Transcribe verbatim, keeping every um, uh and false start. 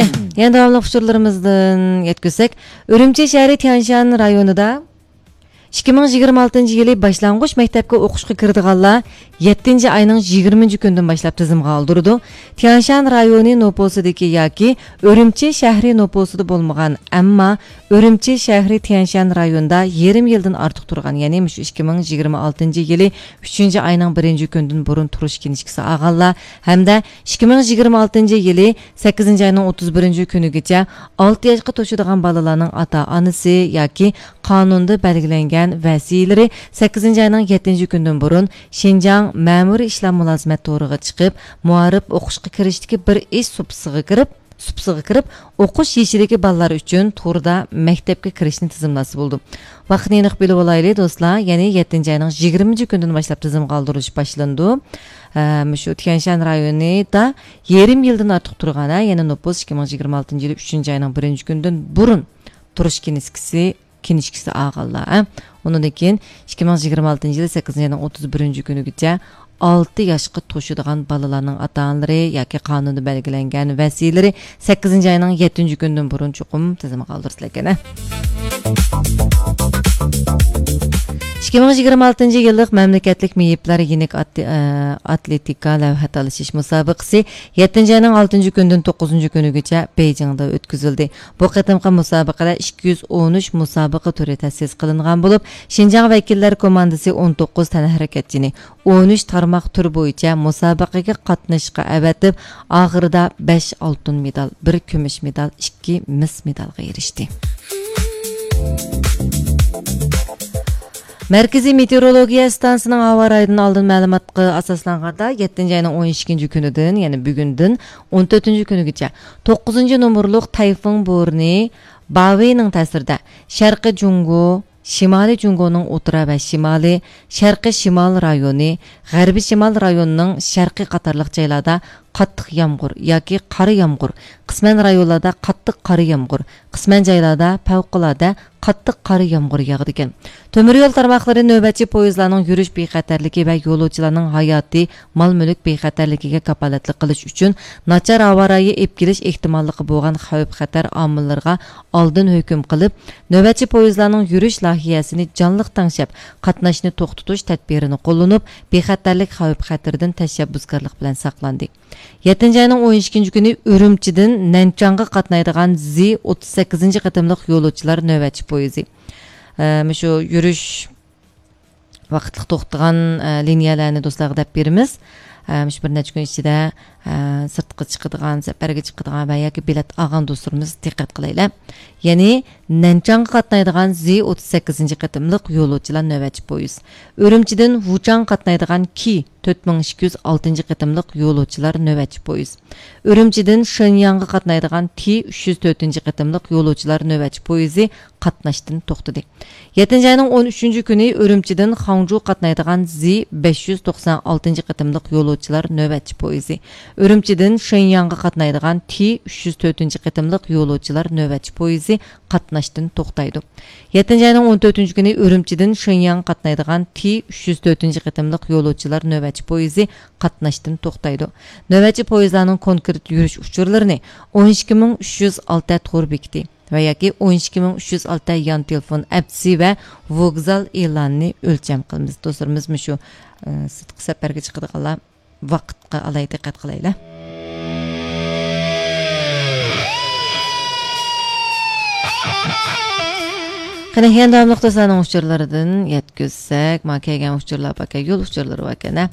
يەنە داۋاملىق ئۇچۇرلىرىمىزدىن يەتكۈزسەك، ئۈرۈمچى شەھىرى تيەنشان رايونىدا ئىككى مىڭ يىگىرمە ئالتىنچى يىلى باشلانغۇچ مەكتەپكە ئوقۇشقا كىرىدىغانلار يەتتىنچى ئاينىڭ يىگىرمىنچى كۈنىدىن باشلاپ تىزىمغا ئالدۇرىدۇ. تيەنشان رايونى نوپۇسىدىكى ياكى ئۈرۈمچى شەھىرى نوپۇسىدا بولمىغان، ئەمما ئۈرۈمچى شەھىرى تيەنشان رايونىدا يېرىم يىلدىن ئارتۇق تۇرغان، يەنى مۇشۇ ئىككى مىڭ يىگىرمە ئالتىنچى يىلى ئۈچىنچى ئاينىڭ بىرىنچى كۈنىدىن بۇرۇن تۇرۇش كىنىشكىسى ئالغانلار ھەمدە ئىككى مىڭ يىگىرمە ئالتىنچى يىلى سەككىزىنچى ئاينىڭ ئوتتۇز بىرىنچى كۈنىگىچە ئالتە ياشقا توشىدىغان بالىلارنىڭ ئاتا-ئانىسى ياكى قانۇندا بەلگىلەنگەن ۋەسىيلىرى سەككىزىنچى ئاينىڭ يەتتىنچى كۈنىدىن بۇرۇن شىنجاڭ مەمۇرىي ئىشلار مۇلازىمەت تورىغا چىقىپ، مۇئارىپ ئوقۇشقا كىرىشتىكى بىر ئىش سۇپىسىغا كىرىپ، سۇپىسىغا كىرىپ، ئوقۇش يېشىدىكى بالىلار ئۈچۈن توردا مەكتەپكە كىرىشنى تىزىملاتسا بولىدۇ. ۋاقىتنى ئېنىق بىلىۋالايلى، دوستلار. يەنى يەتتىنچى ئاينىڭ يىگىرمىنچى كۈنىدىن باشلاپ تىزىمغا ئالدۇرۇش باشلىنىدۇ. ئە، مۇشۇ تيەنشان رايونىدا يېرىم يىلدىن ئارتۇق تۇرغان، ھە، يەنى نوپۇس ئىككى مىڭ يىگىرمە ئالتىنچى يىلى ئۈچىنچى ئاينىڭ بىرىنچى كۈنىدىن بۇرۇن تۇرۇش كىنىشكىسى، كىنىشكىسى ئالغانلار، ھە. ئۇنىڭدىن كېيىن ئىككى مىڭ يىگىرمە ئالتىنچى يىلى سەككىزىنچى ئاينىڭ ئوتتۇز بىرىنچى كۈنىگىچە ئالتە ياشقا توشىدىغان بالىلارنىڭ ئاتا-ئانىلىرى ياكى قانۇندا بەلگىلەنگەن ۋەسىيلىرى سەككىزىنچى ئاينىڭ يەتتىنچى كۈنىدىن بۇرۇن چوقۇم تىزىمغا ئالدۇرسىلەركەن، ھە. ئىككى مىڭ يىگىرمە ئالتىنچى يىللىق مەملىكەتلىك مېيىپلەر يېنىك ئاتلې-، ئە، ئاتلېتىكا لەۋھە تالىشىش مۇسابىقىسى يەتتىنچى ئاينىڭ ئالتىنچى كۈنىدىن توققۇزىنچى كۈنىگىچە بېيجىڭدا ئۆتكۈزۈلدى. بۇ قېتىمقى مۇسابىقىدە ئىككى يۈز ئون ئۈچ مۇسابىقە تۈرى تەسىس قىلىنغان بولۇپ، شىنجاڭ ۋەكىللەر كوماندىسى ئون توققۇز تەنھەرىكەتچىنى، ئون ئۈچ تارماق تۈر بويىچە مۇسابىقىگە قاتنىشىشقا ئەۋەتىپ، ئاخىرىدا بەش ئالتۇن مېدال، بىر كۈمۈش مېدال، ئىككى مىس مېدالغا ئېرىشتى. مەركىزىي مېتېئورولوگىيە ئىستانسىسىنىڭ ھاۋا رايىدىن ئالدىن مەلۇماتقا ئاساسلانغاندا، يەتتىنچى ئاينىڭ ئون ئىككىنچى كۈنىدىن، يەنى بۈگۈندىن ئون تۆتىنچى كۈنىگىچە توققۇزىنچى نومۇرلۇق تەيفۇڭ بورىنى باۋېينىڭ تەسىرىدە شەرقىي جۇڭگو، شىمالىي جۇڭگونىڭ ئوتتۇرا ۋە شىمالىي، شەرقىي شىمال رايونى، غەربىي شىمال رايونىنىڭ شەرقىي قاتارلىق جايلاردا قاتتىق يامغۇر ياكى قارا يامغۇر، قىسمەن رايونلاردا قاتتىق قارا يامغۇر، قىسمەن جايلاردا پەۋقۇلئاددە قاتتىق قارا يامغۇر ياغىدىكەن. تۆمۈر يول تارماقلىرى نۆۋەتچى پويىزلارنىڭ يۈرۈش بىخەتەرلىكى ۋە يولۇچىلارنىڭ ھاياتىي، مال-مۈلۈك بىخەتەرلىكىگە كاپالەتلىك قىلىش ئۈچۈن ناچار ھاۋا رايى ئېلىپ كېلىش ئېھتىماللىقى بولغان خەۋپ-خەتەر ئامىللىرىغا ئالدىن ھۆكۈم قىلىپ، نۆۋەتچى پويىزلارنىڭ يۈرۈش لايىھەسىنى جانلىق تەڭشەپ، قاتناشنى توختىتىش تەدبىرىنى قوللىنىپ، بىخەتەرلىك خەۋپ-خەتىرىدىن تەشەببۇسكارلىق بىلەن ساقلاندى. يەتتىنچى ئاينىڭ ئون ئىككىنچى كۈنى ئۈرۈمچىدىن نەنچاڭغا قاتنايدىغان زى ئوتتۇز سەككىزىنچى قېتىملىق يولۇچىلار نۆۋەتچى پويىزى. ئە، مۇشۇ يۈرۈش ۋاقىتلىق توختىغان، ئە، لىنىيەلەرنى دوستلارغا دەپ بېرىمىز. ئە، مۇشۇ بىر نەچچە كۈن ئىچىدە، ئە، سىرتقا چىقىدىغان، سەپەرگە چىقىدىغان ۋە ياكى بېلەت ئالغان دوستلىرىمىز دىققەت قىلايلى. يەنى نەنچاڭغا قاتنايدىغان زى ئوتتۇز سەككىزىنچى قېتىملىق يولۇچىلار نۆۋەتچى پويىز. ئۈرۈمچىدىن ۋۇچاڭغا قاتنايدىغان كى تۆت مىڭ ئىككى يۈز ئالتىنچى قېتىملىق يولۇچىلار نۆۋەتچى پويىز. ئۈرۈمچىدىن شېنياڭغا قاتنايدىغان تى ئۈچ يۈز تۆتىنچى قېتىملىق يولۇچىلار نۆۋەتچى پويىزى قاتناشتىن توختىدى. يەتتىنچى ئاينىڭ ئون ئۈچىنچى كۈنى ئۈرۈمچىدىن خاڭجۇ قاتنايدىغان زى بەش يۈز توقسان ئالتىنچى قېتىملىق يولۇچىلار نۆۋەتچى پويىزى. ئۈرۈمچىدىن شېنياڭغا قاتنايدىغان تى ئۈچ يۈز تۆتىنچى قېتىملىق يولۇچىلار نۆۋەتچى پويىزى قاتناشتىن توختايدۇ. يەتتىنچى ئاينىڭ ئون تۆتىنچى كۈنى ئۈرۈمچىدىن شېنياڭغا قاتنايدىغان تى ئۈچ يۈز تۆتىنچى قېتىملىق يولۇچىلار نۆۋەتچى پويىزى قاتناشتىن توختايدۇ. نۆۋەتچى پويىزلارنىڭ كونكرېت يۈرۈش ئۇچۇرلىرىنى ئون ئىككى مىڭ ئۈچ يۈز ئالتە تور بېكىتى ۋە ياكى ئون ئىككى مىڭ ئۈچ يۈز ئالتە يان تېلېفون ئەپسى ۋە ۋوگزال ئېلانىنى ئۆلچەم قىلىمىز. دوستلىرىمىز مۇشۇ، ئە، سىرتقى سەپەرگە چىقىدىغانلار ۋاقىتقا ئالاي دىققەت قىلايلى. قېنى، يەنە داۋاملىق دوستلارنىڭ ئۇچۇرلىرىدىن يەتكۈزسەك، ماڭا كەلگەن ئۇچۇرلار باركەن، يول ئۇچۇرلىرى باركەن، ھە.